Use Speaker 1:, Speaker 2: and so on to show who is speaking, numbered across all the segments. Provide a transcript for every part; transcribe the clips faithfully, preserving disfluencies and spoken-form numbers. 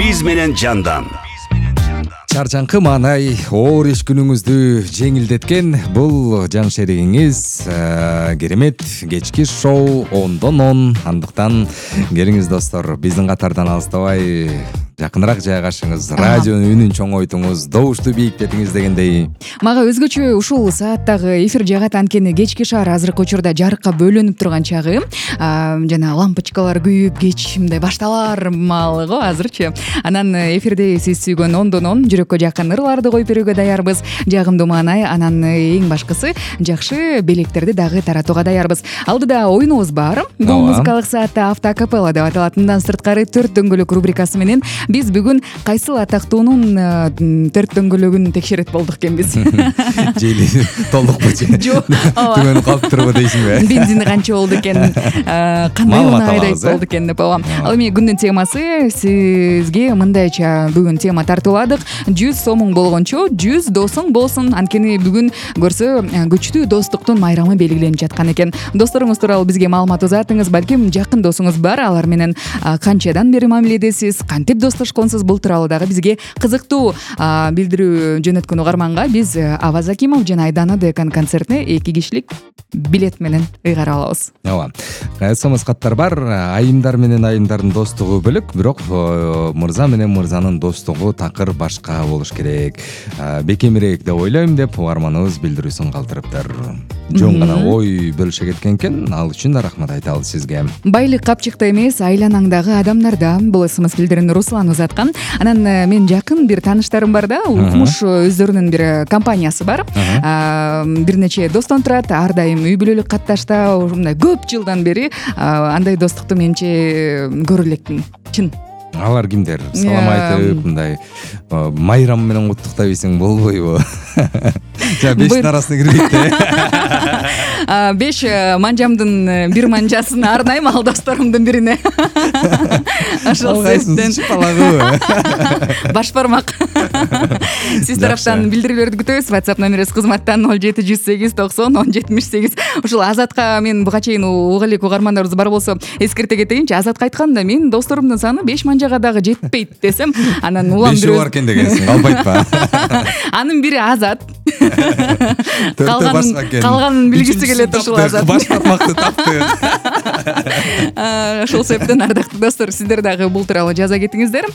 Speaker 1: биз менен жандан.
Speaker 2: Чарчаңкы маанай оор иш күнүңүздү жеңилдеткен бул жан шеригиңиз керемет кечки шоу ондон он. Андыктан келиңиз достор, биздин катардан алыстабай жакыныраак жайгашыңыз, радионун үнүн чоңойтуңуз, добушту бийиктетиңиз дегендей.
Speaker 3: Мага өзгөчө ушул сааттагы эфир жагат, анткени кечки шаар азыркы учурда жарыкка бөлүнүп турган чагы. Жана лампочкалар күйүп, кеч мындай башталар маалы го азырчы. Анан эфирде сиз сүйгөн ондон он жүрөккө жакын ырларды коюп берүүгө даярбыз. Жагымдуу маанай, анан эң башкысы жакшы белектерди дагы таратууга даярбыз. Алдыда оюнубуз бар. Бул музыкалык саатта автоакапелла деп аталат. Мындан сырткары төрт дөңгөлөк рубрикасы менен биз бүгүн кайсыл атактуунун төрт дөңгөлөгүн текшерет болдук экенбиз.
Speaker 2: Жели толукпу же? Түгөнүп калыптырбы дейсиңби?
Speaker 3: Бензини канча болду экен? Кандай унайдай болду экен деп коем. Ал эми күндүн темасы сизге мындайча бүгүн тема тартууладык. жүз сомуң болгончо жүз досуң болсун. Анткени бүгүн көрсө күчтүү достуктун майрамы белгиленип жаткан экен. Досторуңуз тууралуу бизге маалымат узатыңыз. Балким жакын досуңуз бар, алар менен канчадан бери мамиледесиз, кантип достошконсуз, бул тууралуу дагы бизге кызыктуу билдирүү жөнөткөн угарманга биз Аваз Акимов жана Айдана Декан концертине эки кишилик билет менен ыйгара алабыз.
Speaker 2: Ооба. эс эм эс каттар бар. Айымдар менен айымдардын достугу бөлөк, бирок мырза менен мырзанын достугу такыр башка болуш керек. Бекемирээк деп ойлойм деп угарманыбыз билдирүүсүн калтырыптыр. Жөн гана ой бөлүшө кеткен экен. Ал үчүн да рахмат айтабыз сизге.
Speaker 3: Байлык капчыкта эмес, айланаңдагы адамдарда. Бул эс эм эс билдирүүнү Руслан узаткан. Анан мен жакын бир тааныштарым бар да, укмуш өздөрүнүн бир компаниясы бар. Бир нече достон турат, ар дайым үй бүлөлүк катташта, мындай көп жылдан бери андай достукту менче көрө элекмин. Чын.
Speaker 2: Алар кимдер? Салам айтып, мындай майрам менен куттуктайбысың болбойбу? Жа бештин арасына кирбейт да.
Speaker 3: Беш манжамдын бир манжасын арнайм ал досторумдун бирине. Ошол себептен баш бармак. Сиз тараптан билдирүүлөрдү күтөбүз. WhatsApp номерибиз кызматтан ноль жети жүз сегиз токсон он жетимиш сегиз. Ушул Азатка мен буга чейин уга элек угармандарыбыз бар болсо эскерте кетейинчи. Азатка айтканда мен досторумдун саны беш манжага дагы жетпейт десем, анан улам бир
Speaker 2: бар экен дегенсиң. Албайтпа.
Speaker 3: Анын бири Азат. Калганын калганын билгиси келет ушул Азат.
Speaker 2: Баш бармакты тапты.
Speaker 3: Ошол себептен ардактуу достор, сиздер дагы бул тууралуу жаза кетиңиздер.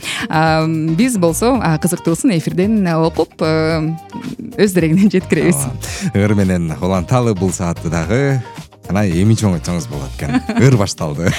Speaker 3: Биз болсо кызыктуусун эфирден окуп өз дерегинен жеткиребиз.
Speaker 2: Ыр менен уланталы бул саатты дагы. Анан эми чоңойтсоңуз болот экен. Ыр башталды.